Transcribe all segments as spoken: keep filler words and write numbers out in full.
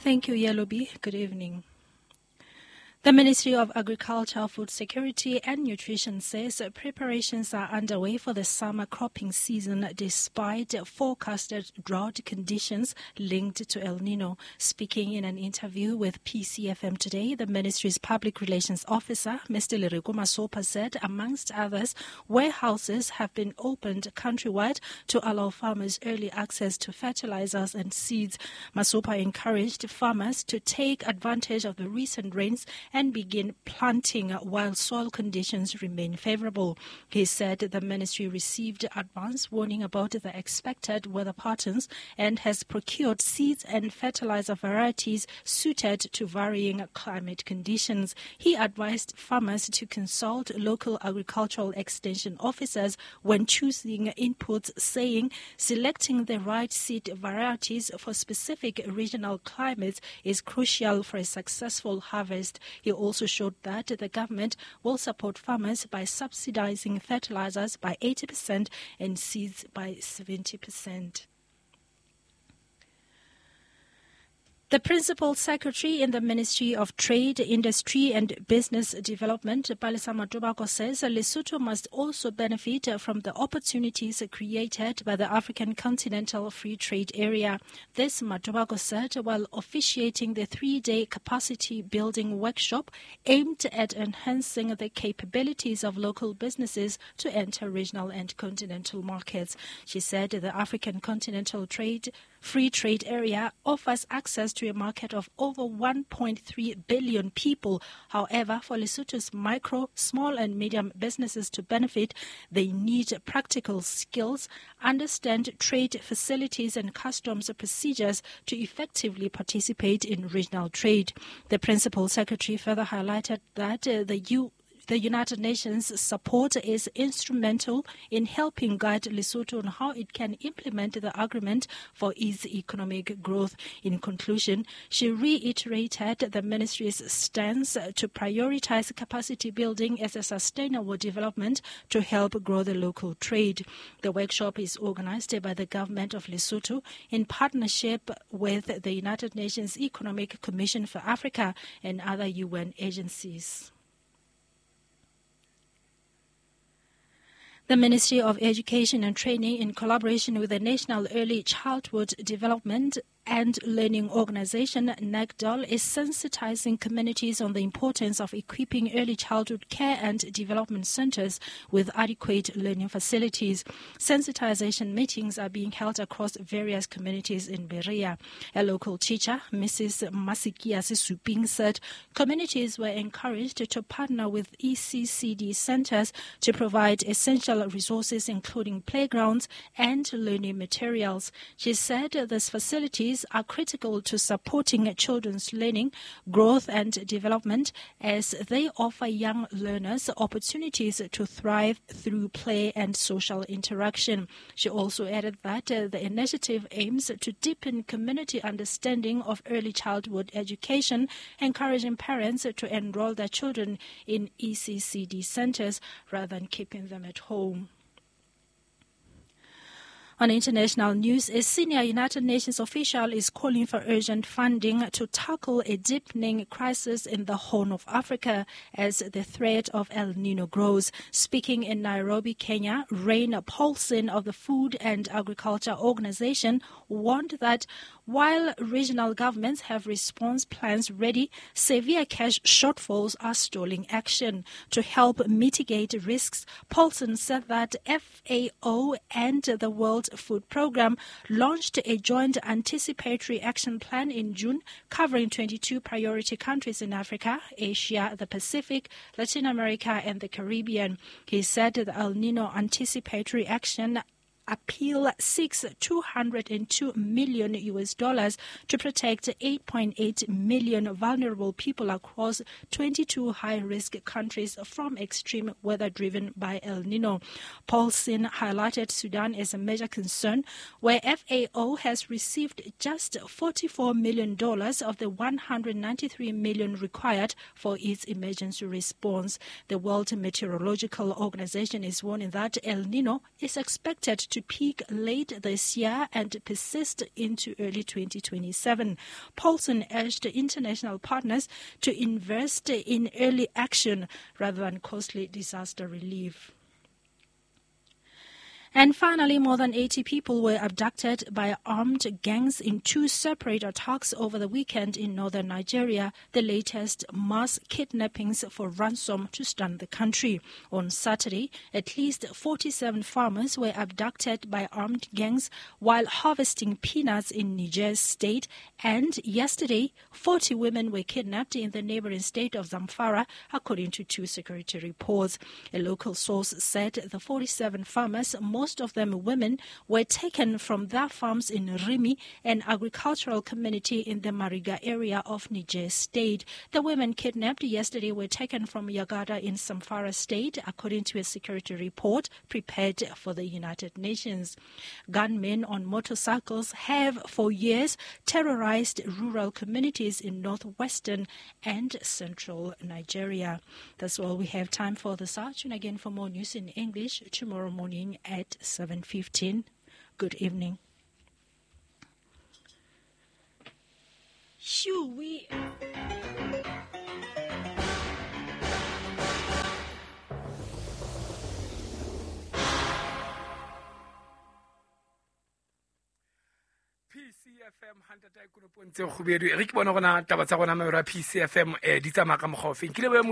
Thank you, Yelobi. Good evening. The Ministry of Agriculture, Food Security and Nutrition says preparations are underway for the summer cropping season despite forecasted drought conditions linked to El Nino. Speaking in an interview with P C F M today, the ministry's public relations officer, Mister Lereko Masopa, said, amongst others, warehouses have been opened countrywide to allow farmers early access to fertilizers and seeds. Masopa encouraged farmers to take advantage of the recent rains and begin planting while soil conditions remain favorable. He said the ministry received advance warning about the expected weather patterns and has procured seeds and fertilizer varieties suited to varying climate conditions. He advised farmers to consult local agricultural extension officers when choosing inputs, saying selecting the right seed varieties for specific regional climates is crucial for a successful harvest. He also showed that the government will support farmers by subsidizing fertilizers by eighty percent and seeds by seventy percent. The Principal Secretary in the Ministry of Trade, Industry and Business Development, Palesa Matobako, says Lesotho must also benefit from the opportunities created by the African Continental Free Trade Area. This, Matobako said while officiating the three-day capacity building workshop aimed at enhancing the capabilities of local businesses to enter regional and continental markets. She said the African Continental Trade Free Trade Area offers access to a market of over one point three billion people. However, for Lesotho's micro, small and medium businesses to benefit, they need practical skills, understand trade facilities and customs procedures to effectively participate in regional trade. The Principal Secretary further highlighted that uh, the U The United Nations support is instrumental in helping guide Lesotho on how it can implement the agreement for its economic growth. In conclusion, she reiterated the ministry's stance to prioritize capacity building as a sustainable development to help grow the local trade. The workshop is organized by the government of Lesotho in partnership with the United Nations Economic Commission for Africa and other U N agencies. The Ministry of Education and Training, in collaboration with the National Early Childhood Development and Learning Organization, NECDOL, is sensitizing communities on the importance of equipping early childhood care and development centers with adequate learning facilities. Sensitization meetings are being held across various communities in Berea. A local teacher, Missus Masikia Sisuping, said communities were encouraged to partner with E C C D centers to provide essential resources, including playgrounds and learning materials. She said these facilities are critical to supporting children's learning, growth and development, as they offer young learners opportunities to thrive through play and social interaction. She also added that uh, the initiative aims to deepen community understanding of early childhood education, encouraging parents to enroll their children in E C C D centers rather than keeping them at home. On international news, a senior United Nations official is calling for urgent funding to tackle a deepening crisis in the Horn of Africa as the threat of El Nino grows. Speaking in Nairobi, Kenya, Rein Paulsen of the Food and Agriculture Organization warned that while regional governments have response plans ready, severe cash shortfalls are stalling action. To help mitigate risks, Paulsen said that F A O and the World Food Programme launched a joint anticipatory action plan in June covering twenty-two priority countries in Africa, Asia, the Pacific, Latin America and the Caribbean. He said the El Nino anticipatory action appeal seeks two hundred two million U S dollars to protect eight point eight million vulnerable people across twenty-two high-risk countries from extreme weather driven by El Nino. Paulsen highlighted Sudan as a major concern, where F A O has received just forty-four million dollars of the one hundred ninety-three million dollars required for its emergency response. The World Meteorological Organization is warning that El Nino is expected to to peak late this year and persist into early twenty twenty-seven. Paulsen urged international partners to invest in early action rather than costly disaster relief. And finally, more than eighty people were abducted by armed gangs in two separate attacks over the weekend in northern Nigeria, the latest mass kidnappings for ransom to stun the country. On Saturday, at least forty-seven farmers were abducted by armed gangs while harvesting peanuts in Niger State, and yesterday, forty women were kidnapped in the neighboring state of Zamfara, according to two security reports. A local source said the forty-seven farmers, most Most of them women, were taken from their farms in Rimi, an agricultural community in the Mariga area of Niger State. The women kidnapped yesterday were taken from Yagada in Zamfara State, according to a security report prepared for the United Nations. Gunmen on motorcycles have for years terrorized rural communities in northwestern and central Nigeria. That's all we have time for this afternoon. Again, for more news in English tomorrow morning at seven fifteen. Good evening. Shoo, we... P C F M tse kgubedu re ke bona gona taba tsa gona mabero a P C F M eh di tsamaya ka mokgwa ofeng. Ke lebohe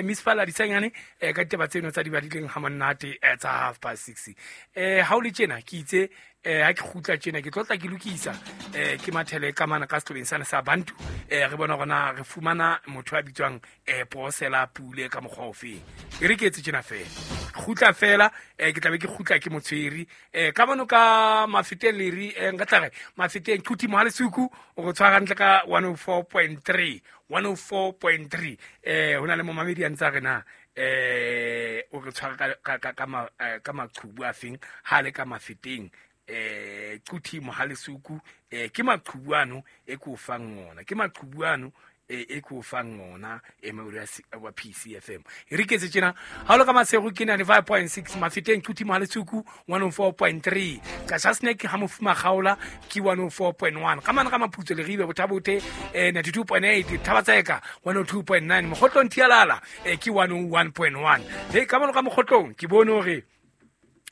Miss Fala Disanyane eh ka ditaba tseno tsa di badileng ha monate tsa half past six. Eh ha o le tjena ke itse eh ha ke kgutla tjena ke tlotla ke lokisa eh ke mathele ka mana ka setlobeng sana sa Bantu eh re bona gona re fumana motho a bitswang eh Posela Pule ka mokgwa ofeng. E re ke etse tjena fela kgutla fela eh ke tlabe ke kgutla ke motshweri eh ka mono ka mafeteng leri eh nka tla re mafeteng Thuti Mohalesuku o go tshwara hantle ka one oh four point three one oh four point three eh hona le momamedi a ntsa re na eh o re tshwara ka ka ka ka maqhubu a feng ha le ka mafeteng eh Thuti Mohalesuku eh ke maqhubu ano e ko fang ona ke maqhubu ano e ko fang ona e mauri wa P C F M. E re ketse tjena ha lo ka Masego ke ninety-five point six mafeteng Thuti Mohalesuku one oh four point three ka Shasnek ha mofuma gaola ke one oh four point one ka mana ka Maphutso le ribe bothabote eh ninety-two point eight Thabatseka one oh two point nine Mokgotlong Thialala eh ke one oh one point one he ka mono ka Mokgotlong ke bone hore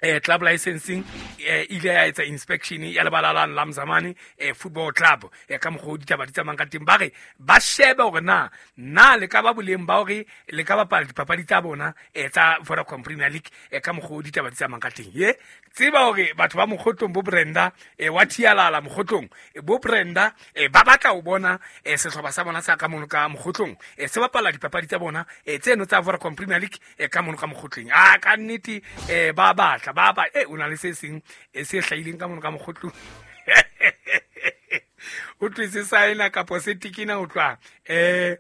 eh club licensing eh ile ya etsa inspection ya lebala la Lamzamane eh football club eh ka mokgo ditaba di tsamayang ka teng ba re ba shebe hore na na le ka ba boleng ba hore le ka bapala dipapadi tsa bona eh tsa Vodacom Premier League eh ka mokgo ditaba di tsamayang ka teng. Ye tseba hore batho ba Mokgotlong bo Brenda eh wa Thialala Mokgotlong bo Brenda eh ba batla ho bona eh sehlopha sa bona sa ka mono ka Mokgotlong eh se bapala dipapadi tsa bona eh tseno tsa Vodacom Premier League eh ka mono ka Mokgotleng a ka nnete eh ba batla ba ba eh o na le se seng e se hlahileng ka mono ka Mokgotlong o tlwetse saena kapo se tikina o tlwa eh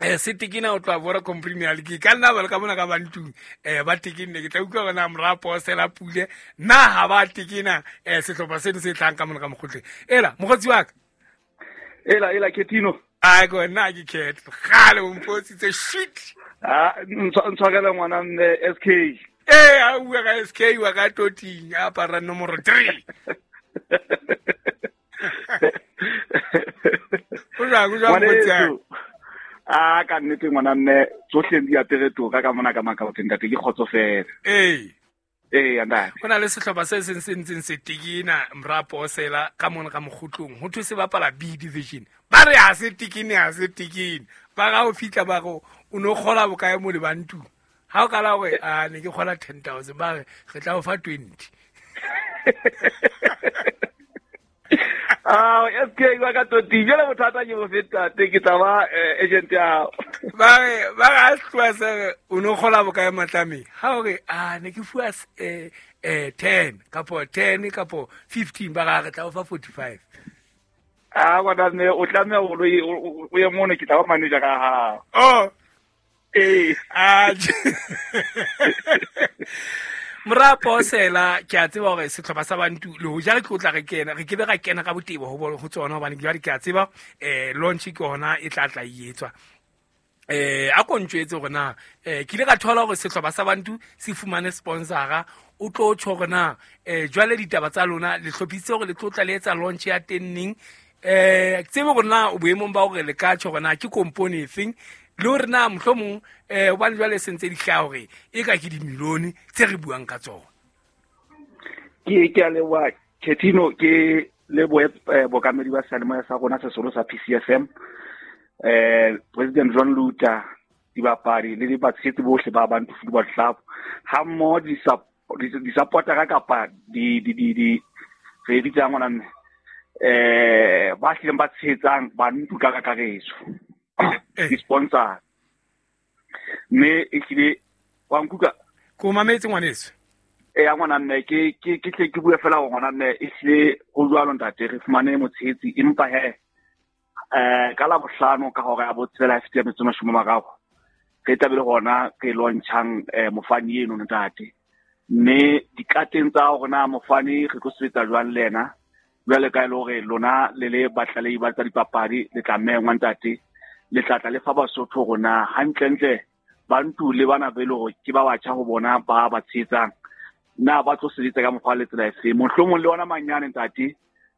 eh se tikina o tlwa Vodacom Premier League ka nna ba le ka mona ka Bantung eh ba tikinne ke tla utlwa bona mora Posela Pule na ha ba tikina eh sehlopha seno se tlang ka mona ka Mokgotleng. Ela mokgotsi wa ka ela ela Ketino a go nna ke Ket gale o mpositse shit ah ntshwarela ngwana mme S K eh a bua ka S K wa ka toting a apara nomoro three o jwang o jwang mokgotsi a ka nnete ngwana mme tsohle di apere toka ka mona ka makaoteng ntate ke kgotsofela. Ee ee ntate ho na le sehlopha se seng se ntseng se tikina mora Posela ka mona ka Mokgotlong ho thwe se bapala B division ba re ha se tikine ha se tikine ba ga o fitla ba go o no kgola bokae mo le Bantu ha o kala hore a ne ke kgola ten thousand ba re re tla o fa twenty Ah S K wa ka toti jela bothata ke bo feta te ke tla ba agent ya ba re ba ga tloa se o no kgola bokae matlame ha o re a ne ke fuwa eh eh ten kapo ten kapo fifteen ba ga re tla o fa forty-five ah wa ne o tlameha o o ye mono ke tla ba manager ka ha oh eh ah mora Posela ke a tseba hore sehlopha sa Bantu le hoja re tlotla re kena re ke be ra kena ka botebo ho ho tsona hobane jwale ke a tseba eh launch ke hona e tla tla e etswa Eh a ko ntjwetse hore na eh ke ile ka thola hore sehlopha sa Bantu se fumane sponsora o tlo tjho hore na eh jwale ditaba tsa lona le hlophisitse hore le tlo tla le etsa launch ya teng neng eh ke tsebe hore na o boemong ba hore le ka tjho hore na ke company efeng le hore na mohlomong eh hobane jwale se ntse di hlaha hore e ka ke dimilione tse re buang ka tsona. Ke ke a leboha Ketino, ke lebohe bokamedi ba seyalemoya sa rona se seholo sa P C F M, eh President John Luther, dibapadi le dibatshehetsi bohle ba Bantu Football Club ha mmoho di di supportera kapa di di di di re bitsang ngwana mme eh ba hlileng ba tshehetsang Bantu ka kakaretso, di sponsor mme e hlile wa nkuka ko mametse ngwaneso. E ya ngwana mme ke ke ke tle ke bue fela hore ngwana mme e hlile ho jwalo ntate re fumane motshehetsi empa he eh ka la bohlano ka hora ya botshelela ya fifty metso mashome a mararo re tla be le hona re launchang mofani eno ntate mme dikateng tsa hore na mofani re tlo sebetsa jwang le yena jwale ka e le hore lona le le batlalehi ba tsa dipapadi le tla mengwa ntate le tla tla le fa Basotho hore na hantlentle Bantu le bana be le hore ke ba batjha ho bona ba ba tshehetsang na ba tlo sebetsa ka mokgwa le tsela efe mohlomong le ona manyane ntate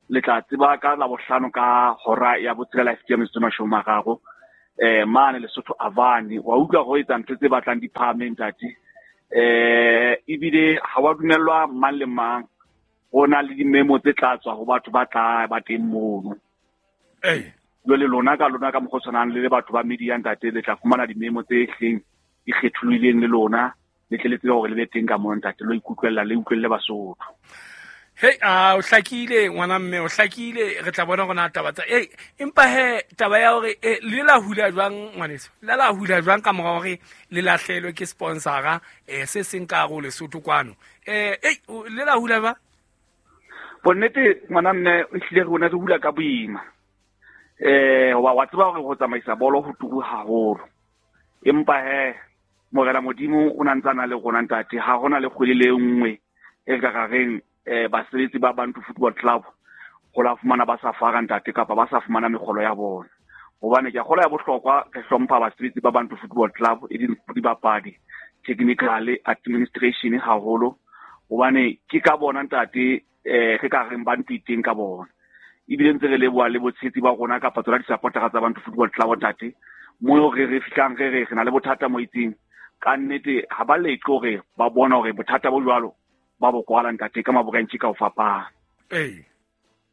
le tla tseba ka la bohlano ka hora ya botshelela ya fifty metso mashome a mararo eh mane Lesotho Avani wa utlwa go etsa ntho tse batlang di phahame ntate eh ebile ha wa dumellwa mang le mang ho na le dimemo tse tla tswa ho batho ba tla ba teng mono. Eh jwale lona ka lona ka mokgwa o tshwanang le le batho ba media ntate le tla fumana dimemo tse hleng di kgetholohileng le lona le tle le tsebe hore le be teng ka mono ntate lo ikutlwella le utlwelle Basotho. Hey a o hlakile ngwana mme o hlakile re tla bona rona taba tsa eh empa he taba ya hore le la hula jwang ngwaneso le la hula jwang ka mora hore le lahlelwe ke sponsora eh se seng ka hare ho Lesotho kwano eh eh le la hula ba bonnete ngwana mme e hlile rona re hula ka boima eh wa wa tseba hore ho tsamaisa bolo ho turu haholo empa he Morena Modimo o na ntse a na le rona ntate ha hona le kgwedi le nngwe e ka ka reng eh basebetsi ba Bantu Football Club ho la fumana ba sa fara ntate kapa ba sa fumana mekgolo ya bona hobane ke a kgola ya bohlokwa re hlompha basebetsi ba Bantu Football Club e dibapadi technical administration haholo hobane ke ka bona ntate eh re ka reng Bantu iteng ka bona ebile ntse re leboha le botshehetsi ba rona kapa tsona di-supportera tsa Bantu Football Club ntate mo re re fihlang re re re na le bothata mo itseng ka nnete ha ba leqe hore ba bona hore bothata bo jwalo ba bo kwala ntate ka maborentshi ka ho fapana. Eh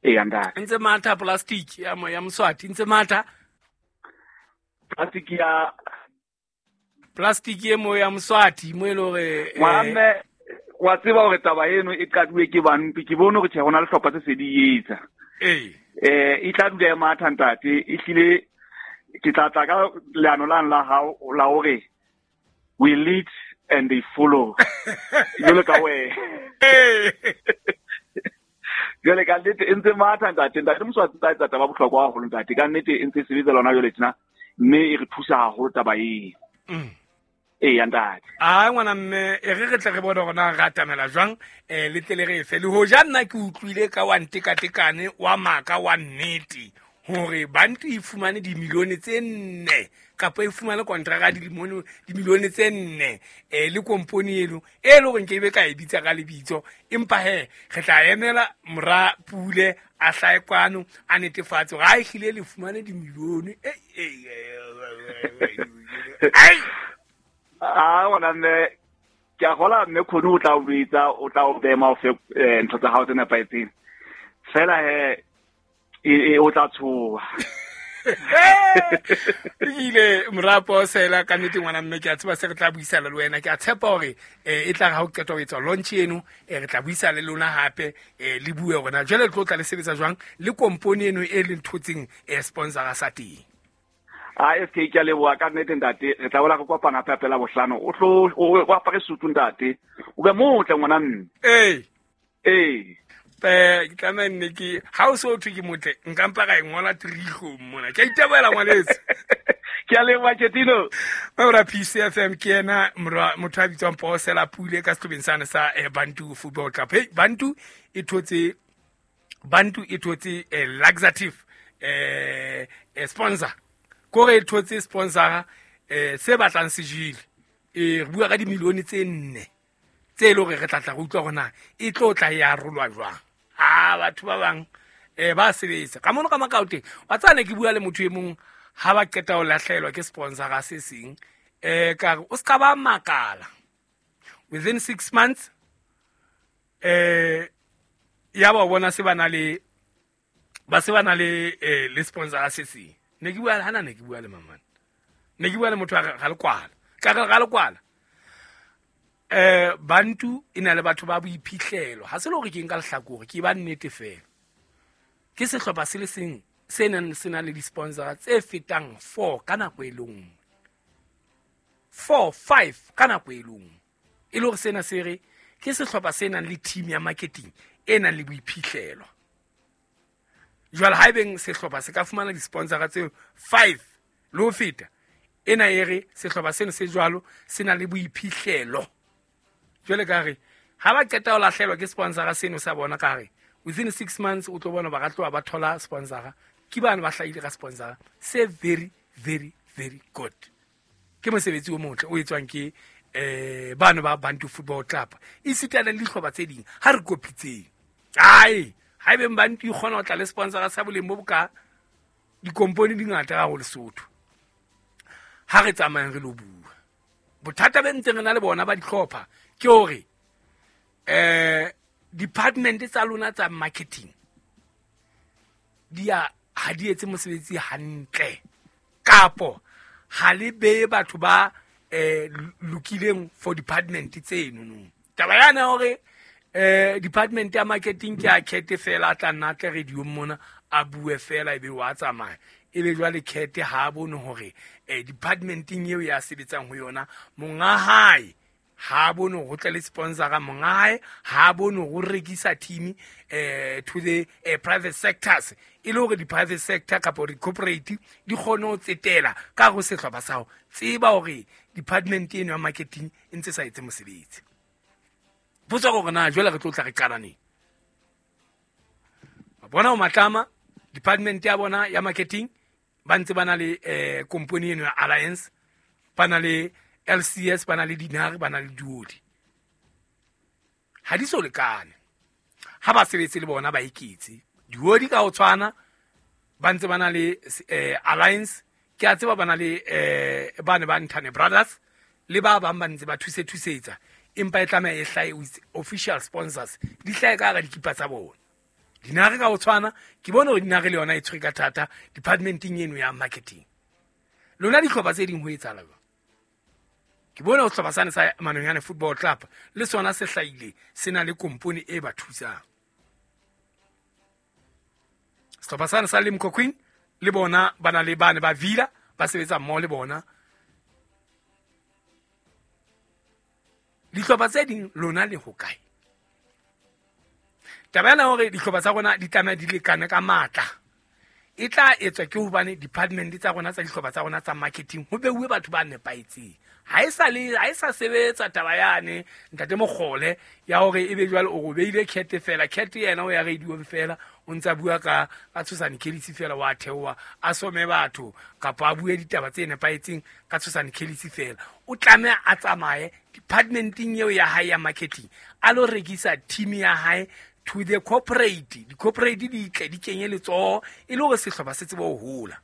eh ntate ntse matha plastic ya mo ya Moswati ntse matha plastic ya plastic e mo ya Moswati mo ile hore ngwana wa tseba hore taba eno e qaduwe ke Bantu ke bone hore tjhe hona le hlopha tse se di etsa eh eh e tla dula e matha ntate e hlile ke tla tla ka leano lang la hao la hore we lead and they follow. Jwalo ka wena. Jwale ka nnete e ntse matha ntate ntate Moswati tsa etsa taba bohlokwa haholo ntate ka nnete e ntse sebetsa lona jwale tjena mme e re thusa haholo taba eo. Ee ntate. Ah ngwana mme e re re tle re bone hore na re atamela jwang eh le tle le re fe le hoja nna ke utlwile ka wa ntekatekane wa maka wa nnete hore Bantu e fumane dimilione tse nne kapa e fumane kontraka dilimone dimilione tse nne eh le company eno e le hore nke be ka e bitsa ka lebitso empa he re tla emela mora Pule a hlae kwano a netefatse hore ha e hlile le fumane dimilione eh eh ah ngwana mme ke a kgola mme Khoni o tla o bitsa o tla o bema o fe ntho tsa hao tse nepahetseng fela he e o tla tshoha. Ile morapo sela ka nnete ngwana mme ke a tseba se re tla buisana le wena ke a tshepa hore e tla ha o qeta ho etsa launch eno re tla buisana le lona hape le bue hore na jwale le tlo tla le sebetsa jwang le company eno e le nthotseng sponsor sa teng. A S K ke a leboha ka nnete ntate re tla bola re kopana hape hape la bohlano o tlo o apare sutu ntate o be motle ngwana mme. Eh eh eh ke tlameha nne ke ha o so thwe ke motle nka mpa ka e ngola trigo mona ke a itebohela ngwaneso. Ke a leboha Ketino. Mora P C F M ke yena motho a bitswang Posela Pule ka sehlobeng sane sa Bantu Football Club. Hey Bantu e thotse Bantu e thotse laxative eh sponsor kore e thotse sponsor um se batlang se jele um re bua ka dimilione tse nne tse e le gore re tla tla re utlwa gore na e tlo tla e arolwa jwang. A batho ba bang um ba sebetsa ka mono ka Makaoteng. Wa tsaya ne ke bua le motho e mong ha ba qeta ho lahlehelwa ke sponsora se seng, um ka re o ska ba makala within six months um ya ba bona se ba na le ba se ba na le eh, le sponsora se seng. Ne ke bua hana ne ke bua le mamane, ne ke bua le motho ga le kwala ka re ga le kwala eh Bantu e na le batho ba boiphihlelo. Ha se le hore ke nka lehlakore, ke ba nnete fela. Ke sehlopha se le seng se nang se na le di-sponsora tse fetang four ka nako e le nngwe, four five ka nako e le nngwe. E le hore sena se re ke sehlopha se nang le team ya marketing e nang le boiphihlelo. Jwale haebeng sehlopha se ka fumana di-sponsora tse five le ho feta, ena e re sehlopha seno se jwalo se na le boiphihlelo. Jwale ka re ha ba qeta ho lahlehelwa ke sponsora seno sa bona, ka re within six months o tlo bona ba ka tloha ba thola sponsora. Ke bana ba hlahile ka sponsora se very very very good. Ke mosebetsi o motle o etswang ke eh bana ba Bantu Football Club esita le dihlopha tse ding. Ha re kopitseng ai haebeng Bantu e kgona ho tla le sponsora sa boleng bo boka, dikompone di ngata ka ho Lesotho. Ha re tsamayang re lo bua, bothata be ntseng re na le bona ba dihlopha ke hore eh department tsa lona tsa marketing di a ha di etse mosebetsi hantle, kapo ha le beye batho ba eh lokileng for department tseno no. Taba yana hore eh department ya marketing ke a khethe fela, a tla nna tle radio mona a bue fela ebe wa tsamaya, ebe jwale khethe ha bone hore eh departmenting eo ya sebetsang ho yona monga hae ha bone ho tle le sponsora, monga hae ha bone ho rekisa team eh to the eh, private sectors, e le hore di private sector kapa di corporate di kgone ho tsetela ka ho sehlopha sa ho tseba hore department eno ya marketing e ntse sa etse mosebetsi. Potso hore na jwale re tlo tla re qala neng? Ba bona ho Matlama department ya bona ya marketing ba ntse ba na le eh company eno ya Alliance, ba na le L C S, ba na le Dinare, ba na le Duodi. Ha di so lekane. Ha ba sebetse le bona ba iketse. Duodi ka ho tshwana ba ntse ba na le eh, Alliance, ke a tseba ba na le eh ba ne ba Ntane Brothers le ba bang ba ntse ba thuse thusetsa, empa e tlameha e hlahe with official sponsors, di hlahe ka hara dikipa tsa bona. Dinare ka ho tshwana ke bone hore Dinare le yona e tshwere ka thata departmenting eno ya marketing. Lona dihlopha tse ding ho etsahala jwang? Ke bone ho sehlopha sane sa Manonyane Football Club le sona se hlahile se na le kompone e ba thusang. Sehlopha sane sa Limco Queen le bona ba na le bane ba Villa ba sebetsa mmoho le bona. Dihlopha tse ding lona le hokae? Taba ena hore dihlopha tsa rona di tlameha di lekane ka matla e tla etswa ke hobane department tsa rona tsa dihlopha tsa rona tsa marketing ho beuwe batho ba nepahetseng. Ha e sa le ha e sa sebetsa taba yane ntate Mokgole ya hore ebe jwale o robeile khethe fela, khethe yena o ya radio fela o ntsa bua ka ka Tshosane Kelisi fela, wa theoha a some batho kapa a bue ditaba tse nepahetseng ka Tshosane Kelisi fela. O tlameha a tsamaye departmenting eo ya hae ya marketing a lo rekisa team ya hae to the corporate. Di corporate di tle di kenye letsoho e le hore sehlopha se tsebe ho hola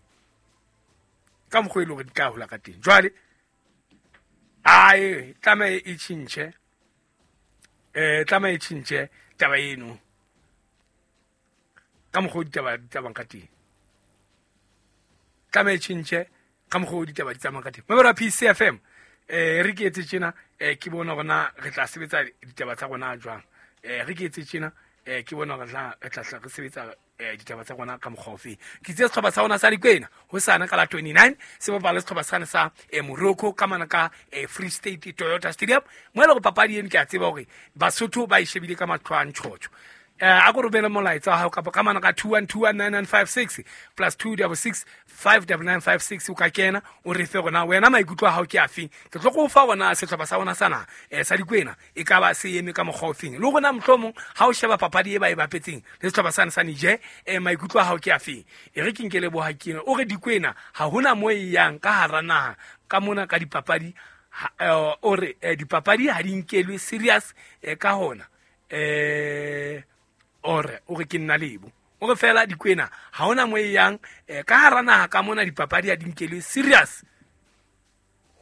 ka mokgwa e le hore di tla hola ka teng. Jwale ae tlameha e tjhentjhe eh tlameha e tjhentjhe taba eno ka mokgwa ditaba di tsamayang ka teng, tlameha e tjhentjhe ka mokgwa ditaba di tsamayang ka teng. Mamela P C F M eh re ke etse tjena eh ke bona hore na re tla sebetsa ditaba tsa rona jwang. Eh re ke etse tjena eh ke bona hore re tla re sebetsa ditaba tsa rona ka mokgwa ofe. Ke itse sehlopha sa rona sa Dikwena ho sana ka la twenty-nine se bapala sehlopha sane sa Morocco ka mana ka Free State Toyota Stadium, mo e leng hore papadi eno ke a tseba hore Basotho ba e shebile ka mahlo a ntjhotjho. A ko romele molaetsa wa hao kapa ka mana ka two one two one nine nine five six plus two double six five double nine five six o ka kena o re fe gona wena maikutlo a hao ke afeng. Ke tlo go fa gona sehlopha sa rona sana eh sa Dikwena e ka ba se eme ka mokgwa ofeng le gona mohlomong ha o sheba papadi e ba e bapetseng le sehlopha sana sa Niger eh maikutlo a hao ke afeng. E re ke nke leboha kena o re Dikwena ha hona mo e yang ka hara naha ka mona ka dipapadi o re dipapadi ha di nkelwe serious ka hona eh ore o re ke nna lebo o re fela Dikwena ha hona mo e yang ka hara naha ka mona dipapadi ha di nkelwe serious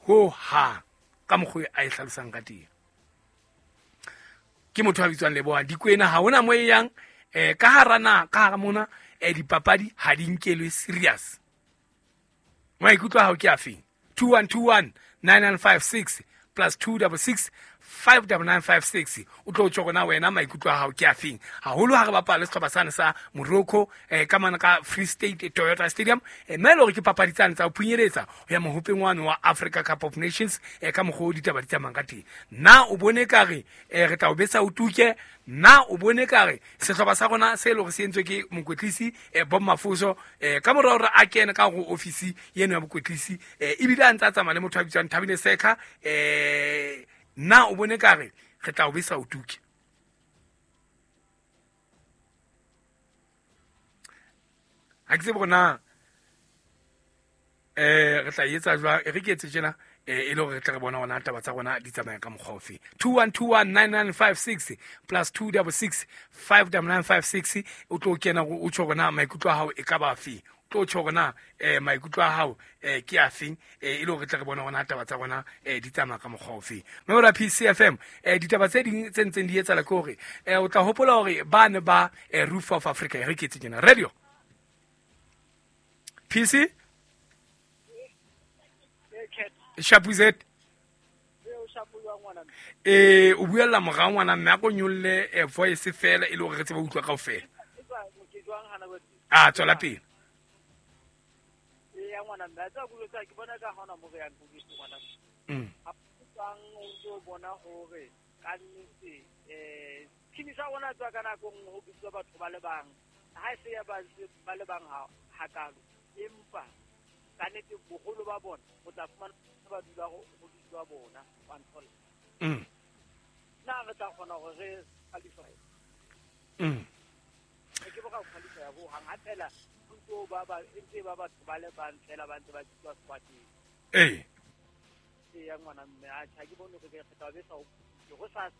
ho ha ka mokgwa a e hlalosang ka teng. Ke motho a bitswang Leboha. Dikwena ha hona mo e yang ka hara naha ka hara mona dipapadi ha di nkelwe serious. Maikutlo a hao ke afeng? two one two one nine nine five six plus two double six five double nine five six o tlo tjho gona wena maikutlo a hao ke afeng haholo ha re bapala sehlopha sane sa Morocco eh ka mana ka Free State Toyota Stadium eh mme le hore ke papadi tsane tsa ho phunyeletsa ho ya mohopeng wane wa Africa Cup of Nations eh ka mokgwa o ditaba di tsamayang ka teng. Na o bone ka re eh re tla o betsa o tuke? Na o bone ka re sehlopha sa rona se le hore se entswe ke mokwetlisi eh Bob Mafuso eh ka mora hore a kene ka go ofisi yeno ya mokwetlisi eh ebile a ntse a tsamaya le motho a bitswang Thabile Seka eh na o bone ka re re tla o besa o tuke? Ha ke tsebe hore na eh re tla etsa jwang. E re ke etse tjena eh e le hore re tle re bona hona taba tsa rona di tsamaya ka mokgwa ofe. two one two one nine nine five six plus two double six five double nine five six o tlo kena o tjho hore na maikutlo a hao e ka ba afe. Tlo tjho hore na eh maikutlo a hao eh ke afeng eh e le hore re tle re bona hona taba tsa rona eh di tsamaya ka mokgwa ofe. Mme P C F M eh ditaba tse ding tse ntseng di etsahala ke hore eh o tla hopola hore ba ne ba Roof of Africa e re ke etse tjena radio P C Shapuzet eh o buella morao ngwana mme a ko nyolle voice fela e le hore re tsebe utlwa kaofela. A tswela pele. Ya ngwana mme tsa go tsa ke bona ka hona mo re yang go itse ngwana mm a tsang o ntse bona hore ka nnete eh team sa rona tswa ka nako nngwe ho bitswa batho ba le bang ha se ya ba ba le bang ha hakalo empa ka nnete boholo ba bona o tla fumana ba dula go bitswa bona wa nthola mm na re tla kgona hore re qualify mm ke boka qualify ho hang ha phela ntse ba ba ntse ba batho ba le bang fela ba ntse ba tswa squatting eh e ya ngwana mme a tjha ke bone re ke tla be sa go sa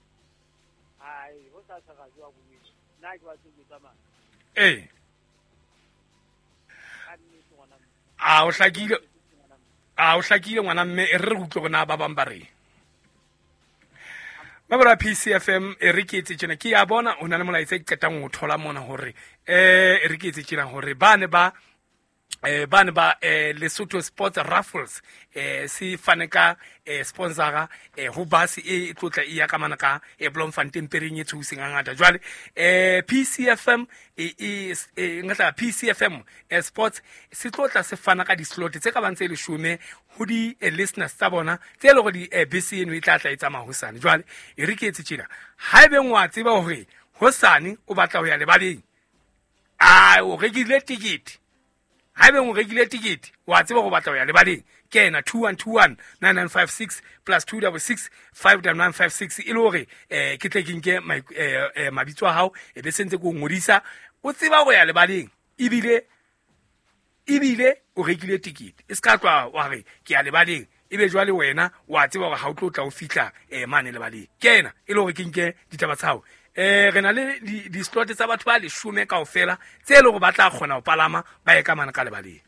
ai ho sa sa ga jwa go nna ke ba tse ke tsamaya eh a o hlakile a o hlakile ngwana mme e re re utlwe gona ba bang ba re Mabora P C F M e re ke etse tjena ke ya bona o na le molaetsa ke qetang ho thola mona hore eh e re ke etse tjena hore ba ne ba eh ba ne ba eh Lesotho Sports Raffles eh se fane ka eh sponsora eh ho bus e tlotla e ya ka mana ka eh Bloemfontein pereng e thuseng ngata jwale eh P C F M e e ngatla P C F M eh Sports se tlotla se fana ka di slot tse ka bang tse leshome ho di listeners tsa bona tse le hore di B C eno e tla tla e tsamaya hosane jwale e re ke etse tjena haebe ngwa tseba hore hosane o batla ho ya lebaleng a o rekile ticket haebe o rekile ticket wa tseba go batla ho ya lebaleng ke ena two one two one nine nine five six plus two double six five nine nine five six e le hore eh ke tle ke nke mabitso a hao e be sentse ke o ngodisa o tseba go ya lebaleng ebile ebile o rekile ticket e ska tloha wa re ke ya lebaleng ebe jwale wena wa tseba hore ha o tlo tla o fihla eh mane lebaleng ke ena e le hore ke nke ditaba tsa hao eh re na le di slot tsa batho ba leshome kaofela tse le hore ba tla kgona ho palama ba ye ka mana ka lebaleng.